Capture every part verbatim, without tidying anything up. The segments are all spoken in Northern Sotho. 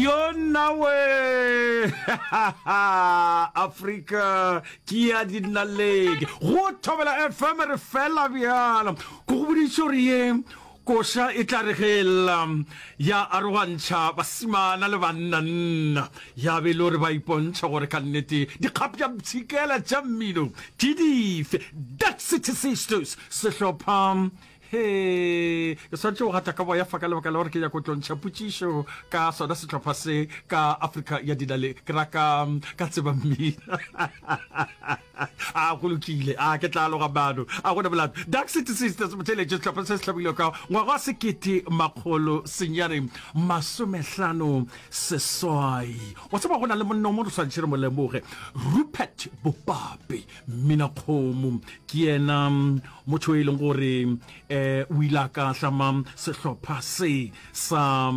Yona we! Afrika ke ya dinaledi. Go Thobela F M re fela bjalo. Ke go boditše gore ye koša e tla re ge e lla ya arogantšha basimana le bannanna, ya be e le gore ba ipontšha gore ka nnete dikgapšapshikela tša mmino ke dife. Dark City Sisters, sehlopha. Hee, ke swanetše go gata ka boya fa ka lebaka la gore ke nyaka go tlo ntšha potšišo ka sona sehlopha se ka Afrika ya Dinale, ke ra ka, ka tseba mmino. A go lokile, a ke tla aloga mano, a gona molato. Dark City Sisters, motheeletši, sehlopha se se hlomilwe ka ngwaga wa sekete makgolo senyane masomehlano seswai. Wa tseba go na le monna o mo re swanetše re mo lemoge, Rupert Bopape, mminakgomo, ke yena motho e leng gore um o ile a ka hlama sehlopha se sa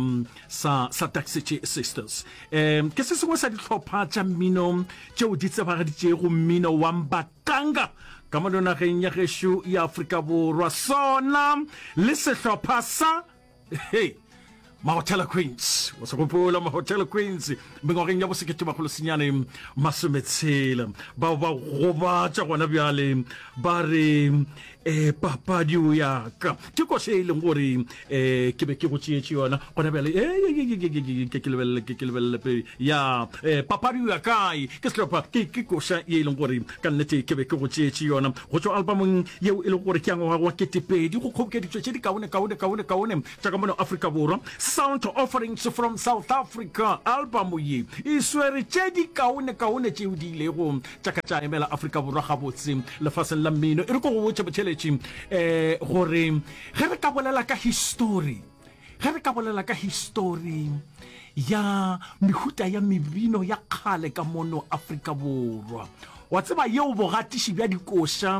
sa sa Dark City Sisters. Um ke se sengwe sa dihlopha tša mmino tšeo di tsebagaditšego mmino wa Mbatanga ka mono nageng ya gešo ya Afrika Borwa, sona le sehlopha sa Hei, Mahotela Queens, o se gopola Mahotela Queens mengwageng ya bosekete makgolo senyane masometshela, bao ba gobatša gona bjale ba re eh, papadi o ya ka ke koše e leng gore eh, ke be ke go tšeetše yona gona bjale eh, ke ke lebelele ke ke lebelele pele ya eh, papadi o ya kae ke sehlopha ke ke koša ye e leng gore ka nnete ke be ke go tšeetše yona go tšwa albumong yeo e lego gore ke ya ngwaga wa ketepedi go kgobokeditšwe tše di kaone kaone kaone kaone tša ka mono Afrika Borwa. Sound Offerings from South Africa album ye e swere tše di kaone kaone tšeo di ilego tša ka tša emela Afrika Borwa gabotse lefaseng la mmino. E re ko go botše motheeletši um gore ge re ka bolela ka histori, Ge re ka bolela ka histori ya mehuta ya mebino ya kgale ka mono Afrika Borwa, wa tseba yeo bogatiši bja dikoša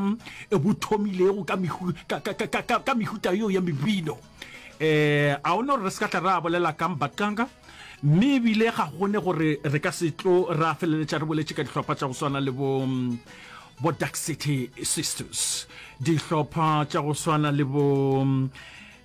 bo thomilego ka, ka, ka, ka, ka, ka mehuta yeo ya mebino, eh, a o no re re se ka tla ra bolela ka Mbatanga, mme ebile ga gone gore re ka se tlo ra feleletša re boletše ka dihlopha tša go swana le bo, bo Dark City Sisters, dihlopha tša go swana le bo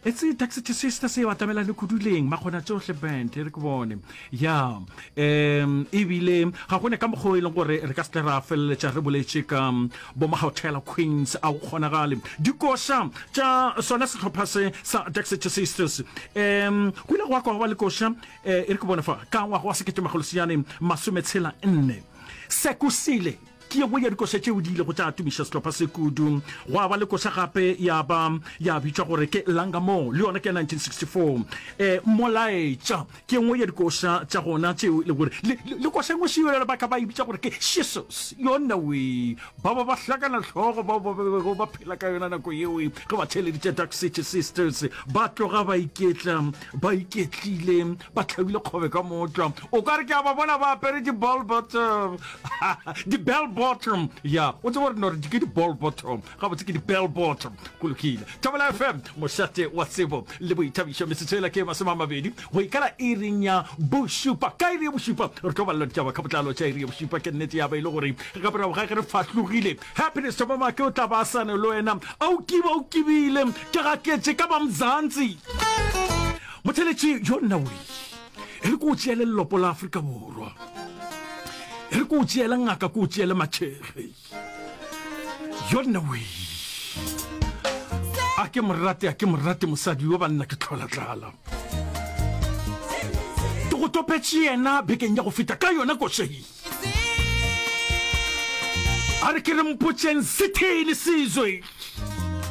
Etse Dark City Sisters e batamelane kudu leng Makgona Tšohle Band, e re ke bone. Ya, um ebile ga gone ka mokgwa o e leng gore re ka se tle ra feleletša re boletše ka bo Mahotela Queens, a go kgonagale. Dikoša tša sona sehlopha se sa Dark City Sisters, um go ile gwa kwa gwa ba le koša, eh, e re ke bone fa, ka ngwaga wa sekete makgolo senyane masometshela nne. Sekusile. Ke ye nngwe ya dikoša tšeo di ilego tša tumiša sehlopha se kudu. Gwa ba le koša gape ya ba ya bitšwa gore ke Langa Mo, le yona ke ya nineteen sixty four E, Molaetša ke ye nngwe ya dikoša tša gona tšeo e lego gore le, le, le koša e nngwe šeo ba ka ba e bitša gore ke Jesus. Yona we, ba ba ba hlakana hlogo bao ba bego ba phela ka yona nako yeo ge ba theeleditše Dark City Sisters, ba tloga ba iketla, ba iketlile, ba hlabile kgobe ka mootlwa. O ka re ke a ba bona ba apere di-ball bottom. Di-bell bottom, ya o tseba gore no re ke di-ball bottom, gabotse ke di-bell bottom. Go lokile. Thobela F M, mošate wa tsebo le boithabišo. Metsotso ela ke masome a mabedi go ikala iring ya bošupa. Ka iri ya bošupa re tlo balela ditaba ka botlalo tša iri ya bošupa. Ke nnete ya ba e le gore ka morago ga ge re fahlogile, Happiness Thobamake o tla ba a sane le wena a o kiba o kibile ke gaketše ka ba Mzansi. Motheletši yo nna we e re ko o tšeele lelopo la Afrika Borwa, e re ko o tšeele ngaka, ko o tšeele matšhege. Yo nna we, a ke morate, a ke morate mosadi yo banna ke tlhola tlala. Ke go topetše yena bekeng ya go feta ka yona košei. A re ke re mpotšeng sethee le sizwe.